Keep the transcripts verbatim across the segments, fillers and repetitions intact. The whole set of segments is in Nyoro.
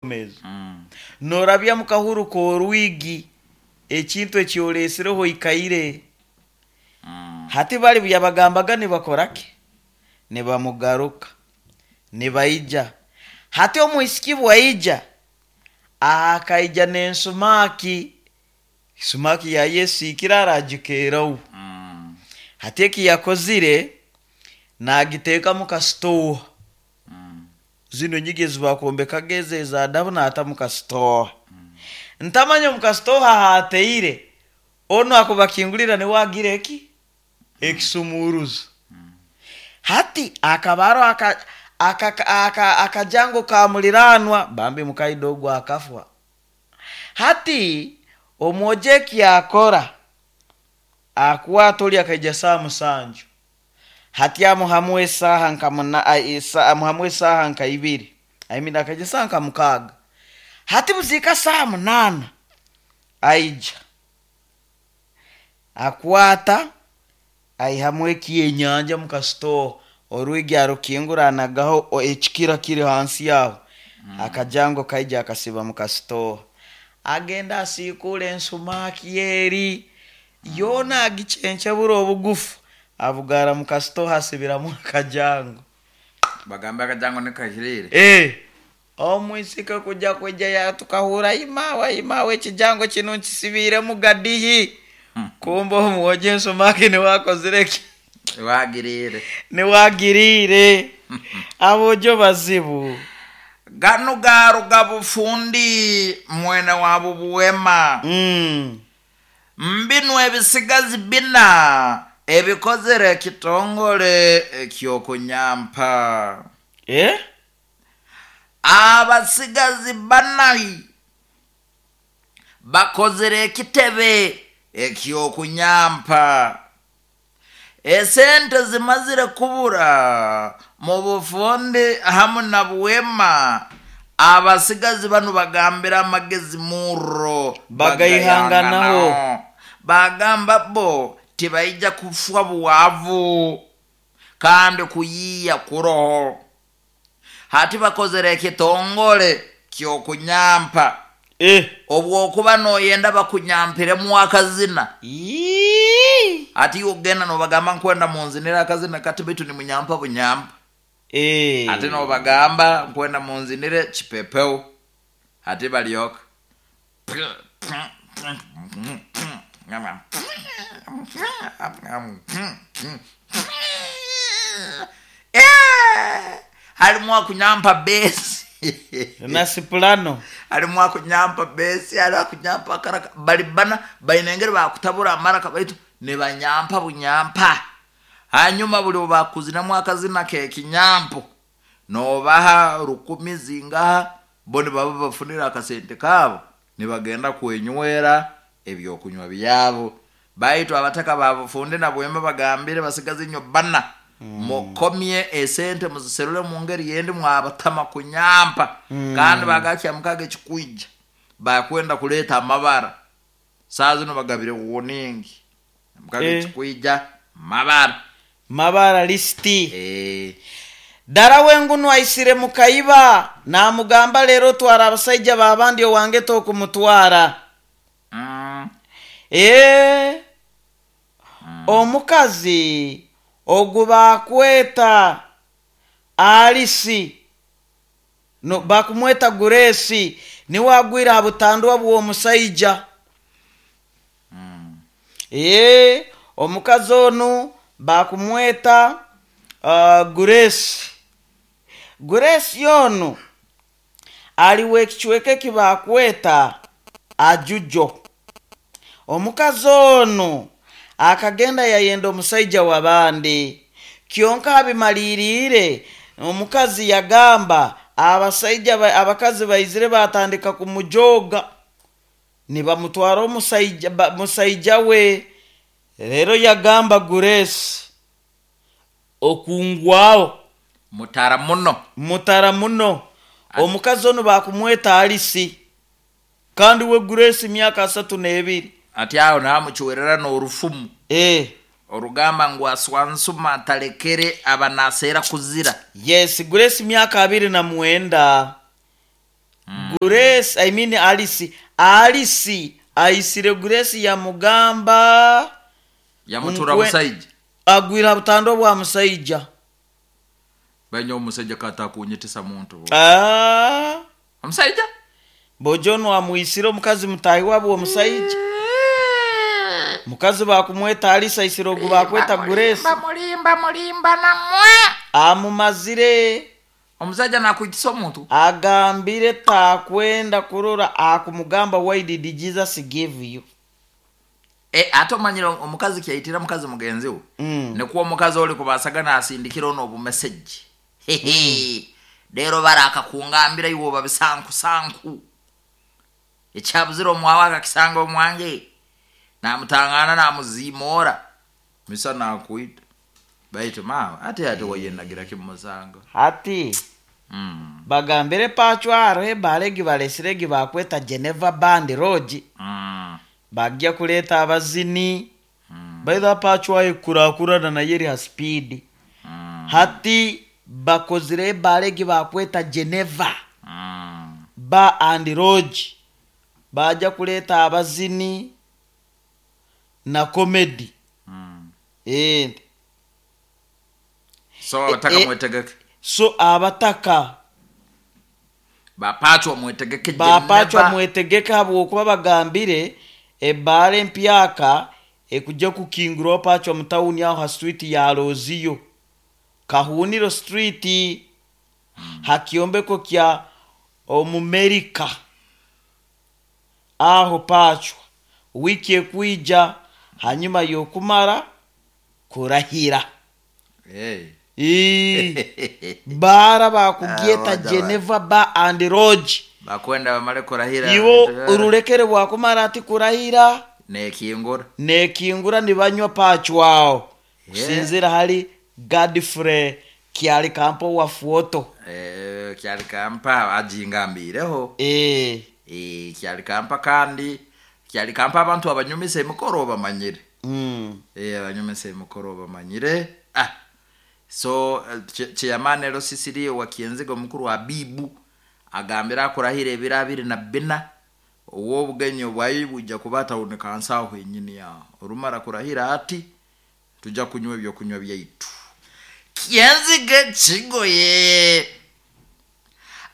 Ezo norabya mu kahuru k'orwigi ekintu ekyoleesireho ikaire. Hati bali buyabagambaga nibakora ki, nibamugaruka nibaija. Hati omwisiki bwaija, akaija n'ensumaaki, sumaaki yayesiikire aragikeeraho. Hati eki yakozire, naagiteeka mu kasitooha, zinu enyigi ezi baakwombekaga ezi eza dabu, naata mu kasitooha. Ntamanya omu kasitooha haataire, onu akubakingulira nuwe agira eki, ekisumuuruzo. Hati hakaba haroho aka- aka- aka- akajango ka muliraanwa, bambi mukaida ogu akafa. Hati omwojo eki akora, akwata oli akaija saaha musanju, hati amuhamu esaaha nka muna- amuhamu esaaha nka ibiri, I mean akaija saaha nka mukaaga. Hati buziika saaha munaana, aija akwata aihamu ekyenyanja mu kasitooha, orwigi arukingura, anagaho ekikira kiri hansi aho, akajango kaija akasiba mu kasitooha. Agenda asiikuura ensumaaki eri yoona, agicencebura obugufa, abugarra mu kasitooha, asibiramu akajango. Bagambe akajango nikahiriire. Eh, omwisiki kujya kwija tukahurra, "Imaawe, imaawe, ekijango kinu nkisibiiremu gadihi." Kumbe omwojo ensumaaki niwe akozire ki? Wagiriire. Niwe agiriire. Aboojo bazibu. Ganu garuga Bufundi mwene wa Bubuwema. Mm. Mbinu ebisigazi bina ebikozere ekitongole ekyokunyampa. Eh? Abasigazi banahi bakozere ekitebe ekyokunyampa. Esente zimazire kubura mu Bufundi hamu na Buwema. Abasigazi banu bagambira amagezi murro bagaihanganaho. Bagamba bo tibaija kufwa bwavu kandi kuyiiya kuroho. Hati bakozere ekitongole kyokunyampa. Eh. Obwokuba noyenda bakunyampiremu akazina, Ii. ati ogenda nobagamba, "Nkwenda munzinire akazina kati," baitu nimunyampa bunyampa. Eh. Ate nobagamba, "Nkwenda munzinire kipepeo." Ate balyoka Eh, halimu akunyampa besi na soprano. Halimu akunyampa besi, halimu akunyampa akaraka. Bali bana baina engeri bakutabura amaraka, baitu nibanyampa bunyampa. Hanyuma buli bwebakuzinamu akazina kekinyampo, nobaha rukumi zingaha, bo nibaba bafunire akasente kaabo, nibagenda kwenywera ebyokunywa byabo. Baitu abataka ba Bufundi na Bwema bagambire basigazi nyo bana, mukomye esente, muziserule mu ngeri yendi, mwabatama kunyampa. Kandi bagakya mukaga ekikwija bakwenda kuleeta amabara. Saa zino bagabire wuningi mukaga Eh. ekikwija mabara. Mabara lisiti. Eh. Dara wengunu aisire mukaiba, namugamba, "Leero twara abasaija babandi, owange tokumutwara." mm. Ee, omukazi ogu bakweta Alisi, no, bakumweta Guresi, niwe agwire ha butandwa bw'omusaija. Ee, omukazi onu bakumweta uh, Guresi. Guresi onu aliwe ekicweka eki bakweta Ajujo. Omukazi onu akagenda yayenda omusaija w'abandi, kyonka abimaliriire omukazi yagamba abasaija ba- abakazi baizire batandika kumujoga, nibamutwara omusaija ba- musaija we. Rero yagamba, "Guresi, okungwaho." Mutara muno. Mutara muno. Omukazi onu bakumweta Alisi, kandi we Guresi myaka asatu n'ebiri. Ati aho namucwerera n'orufumu Eh, orugamba ngu aswansuma atalekere aba naseera kuzira. Yes, Guresi myaka abiri na mwenda. Grace, I mean Alice, Alice aisire Grace yamugamba Yamutura Nkwe- musaija. Agwira butando bwa musaija. Banya omusajja katakunyitisa muntu. Ah. Omusajja? Bojono amwisire omukazi mutahi wabo omusajja. Mukazi bakumweta Alice aisire ogu bakweta Grace. Mulimba mulimba namwe. Amumazire. Omusajja nakwitisa omuntu. Agambire takwenda kurora akumugamba why did Jesus give you? E, ate omanyire omukazi kyayitira mukazi mugenzi we. Mm. Nikuwa omukazi oli kubasaga asindikira ono obumesegi. Hehe. Leero barakakungambira iwe oba bisankusanku. Ekyabuzira omwawe akakisanga omwange. Namutangana namuziimoora. Misa nakwita. Baitu maama ate ate wayenagira kimusanga. Hati Mm. bagambire pachwaro ebalegi balesiregi bakweta Geneva Band Lodge. Mm. Bajja kuleeta abazini. Mm. Baitha pachwa ekurakurana naye eri ha speed. Mm. Hati bakozire ebalegi bakweta Geneva Mm. Bar and Lodge. Bajja kuleeta abazini na comedy. Mm. Eh. So abataka Eh, eh. mwetegeke. So abataka Bapachwa mwetegeke. Bapachwa mwetegeke habwokuba bagambire ebbaala empyaka ekujja kukingurwa pachwa mu tawuni aho ha street ya Roziyo Kahuniro Street hmm. Hakiombeko kya Omumerika aho pachwa wiki ekwija hanyuma yokumara kurahira. Hey. Bara bakugyeta Geneva Bar and Lodge. Bakwenda bamale kurahira. Iwo urulekere bwakumara ati kurahira nekingura nekingura nibanywa pachwao. Kusinzira hali Godfrey Kyali Kampo wa Fuoto. Eh, Kyali Kampa ajingambireho. Eh. Eh, Kyali Kampa kandi Kyali Kampa abantu abanyumisa emikoro bamanyire. Mm. Eh, abanyumisa emikoro bamanyire. Ah. So chairman ero Sisiri wa Kienzigo mukuru wa Bibu agambira kurahira ebira abiri na bina ow'obugenyi bwayi bujja kubata unikansa aho enyini ya orumara kurahira ati tujja kunywa ebyo kunywa byaitu. Kienzige kigoye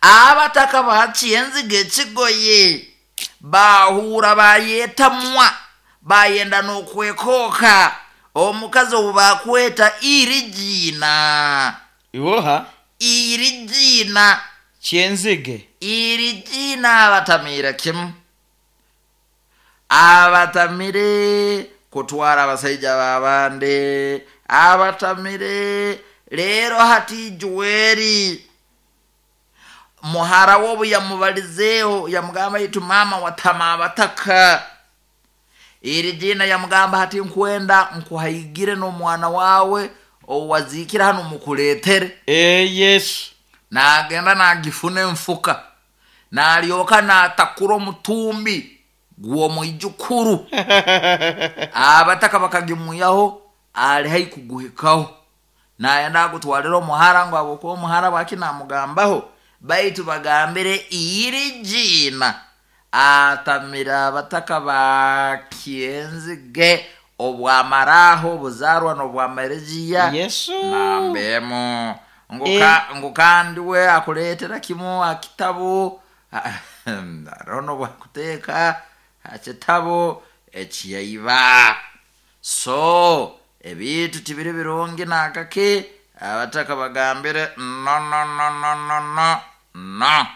abataka ba Kienzige kigoye bahura bayetamwa bayenda n'okwekoka omukazi obubakweta Irijina. Iwoha Irijina Kienzige Irijina abatamira kimu abatamire kutwara abasajja babande abatamire leero hati Juweri muhara wobu yamubalizeeho yamugamba itu mama watama abataka. Irijina yamugamba hati nkwenda nkuhaigire n'omwana wawe owazikira hano mukuletere. Eh, yes. Nagenda nagifuna enfuka nalyoka natakura omutumbi gw'omwijukuru. Abataka bakagimuyaho ali hai kuguhikaho nayenda agutwalira omuhara ngu agokuba omuhara bwaki namugambaho baitu bagambire Irijina atamira abataka ba Kienzige obwamaraho obuzarwa n'obwamarejiya. Yesu nambemo ngu kandi we akuleetera kimu akitabo arono bwakuteeka akitabo ekiyaiba. So ebintu tibiri birungi nakake abataka bagambire no no no no no no no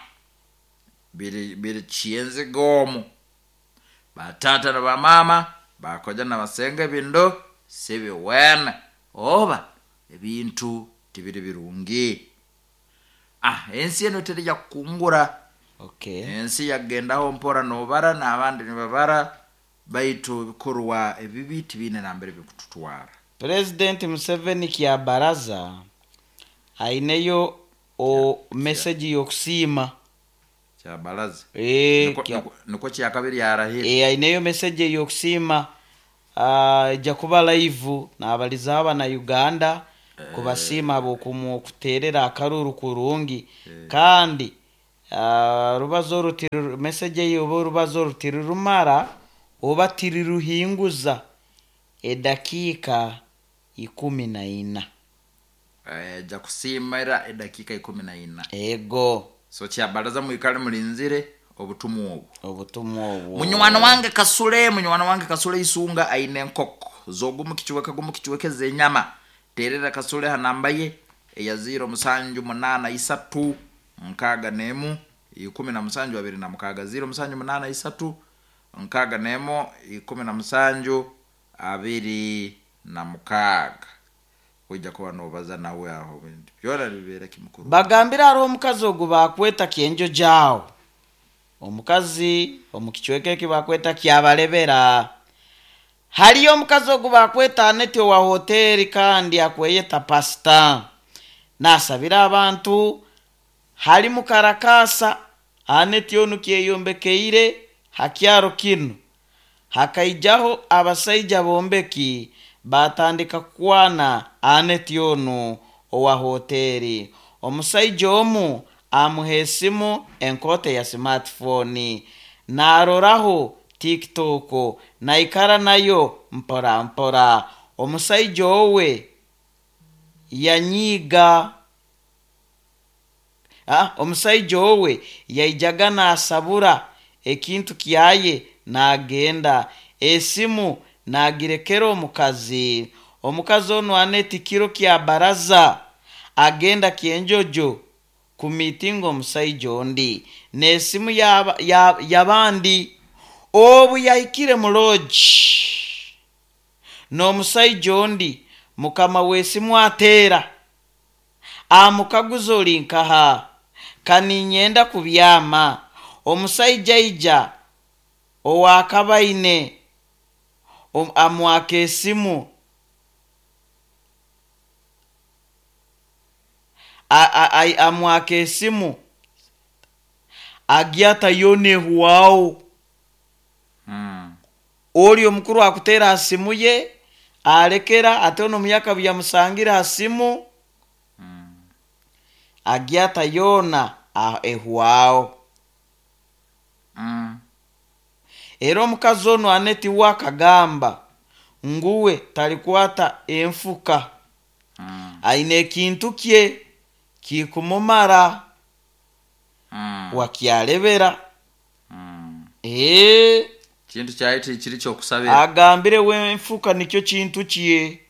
biri biri Kienzige omu batata na bamama bakoja na basenga ebindo sibiwene oba ebintu tibiri birungi. Ah, ensi eno terija kukungura. Okay. Ensi yagendaho mpora nobara n'abandi nibabara baitu bikorwa ebibi tibine nambere bikututwara. President Museveni kya baraza aineyo o message yokusiima kya baraza. Eh, niko, niko, niko kya kabiri yarahira. Eh, aineyo message yokusiima ah uh, jakuba live n'abaliza aba na Uganda kubasiima abokumu kuterera akaruru kurungi. Kandi ah, rubazo rutiri meseje ye oba orubazo rutirurumara oba tiriruhinguza edakiika ikumi na ina. Eh, ja kusiimira edakiika ikumi na ina. Ego. So kyabaraza mwikale mulinzire obutumwa obwo. Obutumwa obwo. Munywani wange Kasule, munywani wange Kasule isunga aine enkoko zogumu kichweka gumu kichweke zenyama. Terera Kasule hanamba ye eya ziro musanju munana isatu nkaga nemu ikumi na musanju abiri na mukaga. Ziro musanju munana isatu nkaga nemu ikumi na musanju abiri na mukaga. Kuja kuba nobaza nawe aho bintu byona bibeera kimukuru. Bagambira hariho omukazi ogu bakweta kyenjo jawo. Omukazi omu kichweka eki bakweta kyabalebera. Hariyo omukazi ogu bakweta Aneti owa hoteri kandi akweyeta pasita. Nasabira abantu hari mukarakasa Aneti onu kyeyombekeire hakyaro kinu. Hakaijaho abasaija bombeki batandika kwana Aneti onu owa hoteri. Omusaija omu amuha esimu enkote ya smartphone naroraho TikTok naikara nayo mpora mpora. Omusaija owe yanyiga. Ah, omusaija owe yaijaga nasabura ekintu kyaye nagenda esimu nagirekera omukazi. Omukazi onu Aneti kiro kya baraza agenda kyenjojo ku mitingo omusaija ondi n'esimu yabandi. Obu yahikire mu lodge n'omusaija ondi mukama w'esimu ateera amukaguza ori nkaha kaninyenda kubyama. Omusaija aija owakabaine amwaka esimu amwaka esimu agyata yone huwao. Mm. Oli omukuru akutera asimu ye alekera ate ono muyaka byamusangira asimu. Mm. Agyata yona ehuwao. Mm. Era omukazi ono Aneti wakagamba nguwe talikwata enfuka. Mm. Aine ekintu kye kikumumara. Mm. Wakyalebera. Mm. Eh. Kintu kyaiti kiri kyokusabira. Agambire wenfuka nikyo kintu kye.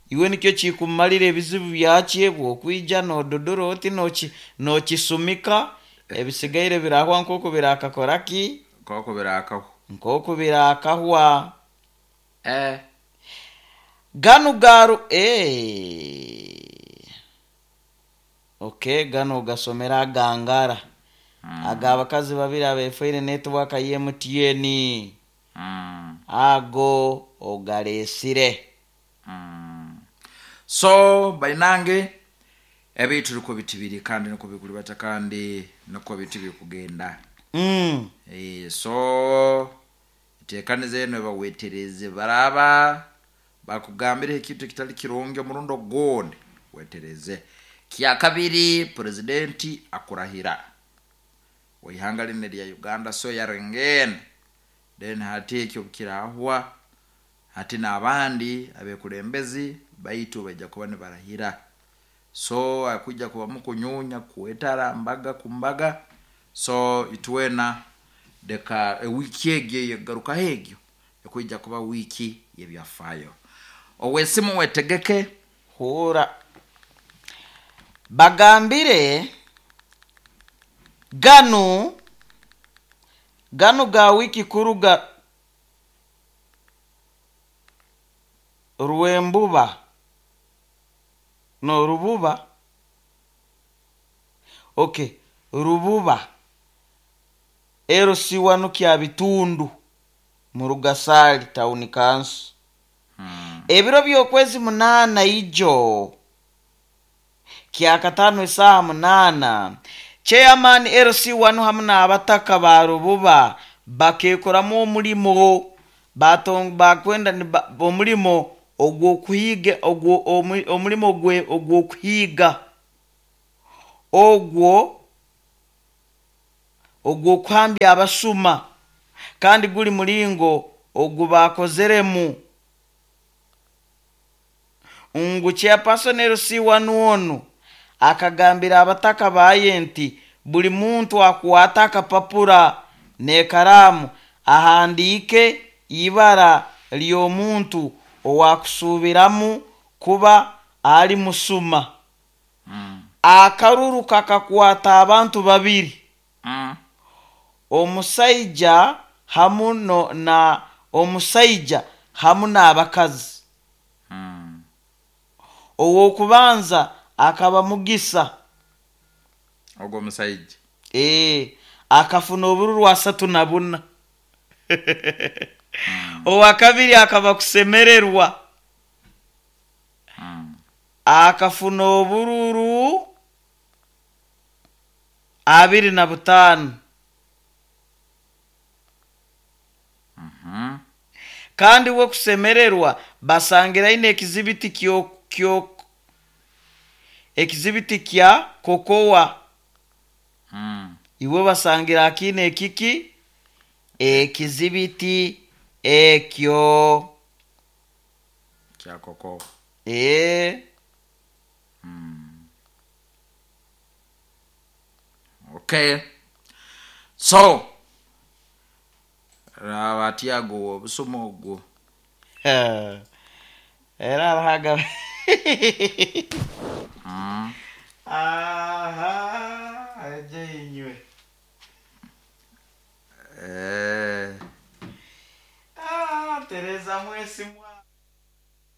Iwe nikyo kikumalira ebizibu byakye bwokwija nododoro oti noki nokisumika ebisigaire birahwa nkoko birakakoraki nkoko birakahwa nkoko birakahwa. Eh. Ganu garu eh. Okay, gano gasomera gangara. Mm. Aga abakazi babiri abefaire network ya M T N. Mm. Ago ogalesire. Mm. So bainange ebitu niko bitibiri kandi niko bikulibata kandi niko bitibiri kugenda. Mm. E, so tekanize eno bawetereze baraba bakugambire ekintu kitali kirungi omurundo gonde wetereze. Kya kabiri presidenti akurahira waihanga line lya Uganda so yarengene then hati ekyo kirahwa hati n'abandi abekulembezi baitu bajja kuba ne barahira. So akujja kuba mukunyunya kuetara mbaga kumbaga. So itwena deka e wiki egyo yegaruka hegyo ekujja kuba wiki yebyafayo. Owesimu wetegeke hura bagambire ganu ganu ga wiki kuruga Rwembuba no Rububa. Okay, Rububa ero siwanu kya bitundu mu Rugasali town council. Hmm. Ebiro by'okwezi munana ijo kyakatano isaha munana chairman L C wanu hamwe n'abataka ba Rububa bakekoramu omulimo batong bakwenda omulimo ogw'okuhiga ogwo omulimo gwe ogw'okuhiga ogwo Ogw'okuhambya abasuma, kandi guli mulingo ogu bakozeremu ngu chairperson L C one onu akagambira abataka baye nti buli muntu akwata akapapura n'ekaraamu ahandiike ibara ly'omuntu owakusuubiramu kuba ali musuma. Mm. Akaruru kakakwata abantu babiri, Mm. omusaija hamu no, na omusaija hamu n'abakazi. Mm. Ow'okubanza akaba Mugisa. Ogwo omusaija. Ee, akafuna obururu asatu na buna. Owakabiri akaba Kusemererwa. Mm. Akafuna obururu abiri na butaano. Mhm. Kandi we Kusemererwa basangiraine ekizibiti kyo kyo ekizibiti kya kokowa. Mm. Iwe basangira akine ekiki ekizibiti ekyo. Kya koko. Ee. Okay, so raba atyago obusuma ogwo. Era arahaga.